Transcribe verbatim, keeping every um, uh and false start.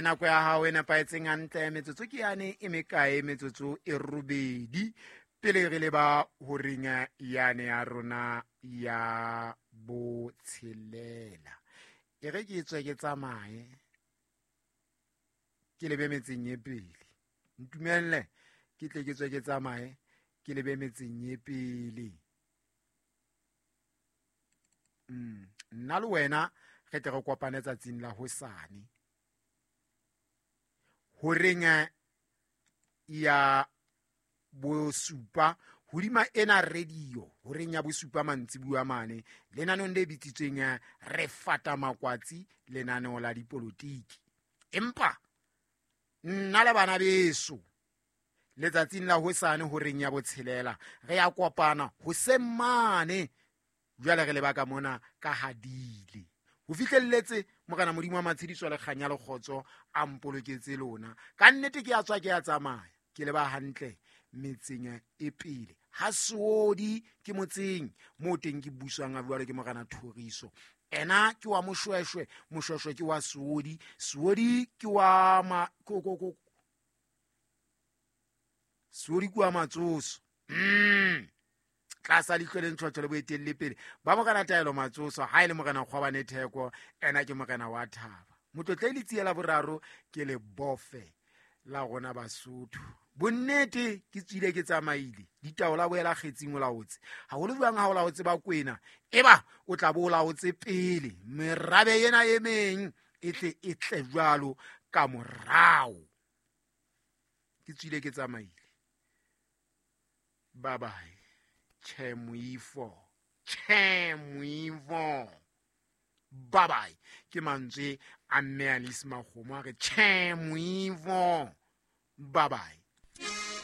Nako ya hao e nepahetseng hantle, metsotso ke yane e mekae? Metsotso e robedi pele re leba horeng yane ya rona ya botshelela. E re ke tswe ke tsamaye ke lebe metseng e pele. Ntumelle ke tle ke tswe ke tsamaye ke lebe metseng e pele. Mm. Nna le wena re tle re kopane tsatsing la hosane horeng ya bosupa hodima ena radio, horeng ya bosupa mantsibuya mane, lenaneong le bitsitsweng Re Fata Makwatsi, lenaneo la dipolotiki. Empa nna le bana beso letsatsing la hosane horeng ya botshelela re ya kopana hoseng mane. Jwale re leba ka mona ka hadile ho fihlelletse Morena Modimo wa matshediso le kganya le kgotso a mpoloketse lona. Ka nnete ke a tswa ke a tsamaya ke leba hantle metseng e pele. Ha Seodi ke motseng moo teng ke buswang a jwale ke Morena Thoriso. Ena ke wa Moshweshwe, Moshweshwe ke wa Seodi, Seodi ke wa ma ko ko ko Seodi ke wa Matsoso. Mm. Tlasa leihlo le ntshotho le boetelle pele ba Morena Taelo Matsoso, ha e le Morena Kgwabane Theko, ena ke Morena wa Thaba. Motlotle le tsiela boraro ke le bofe la rona Basotho. Bonnete ke tswile ke tsamaile, ditaola boela kgetsing o laotse. Haholo jwang ha o laotse ba Kwena, eba o tla bo o laotse pele merabe ena e meng e tle e tle jwalo ka morao. Ke tswile ke tsamaile. Bye bye. Che moifo, che moifo. Bye bye. Ke mantswe a mme Alice Makgomo a re che moifo. Bye bye.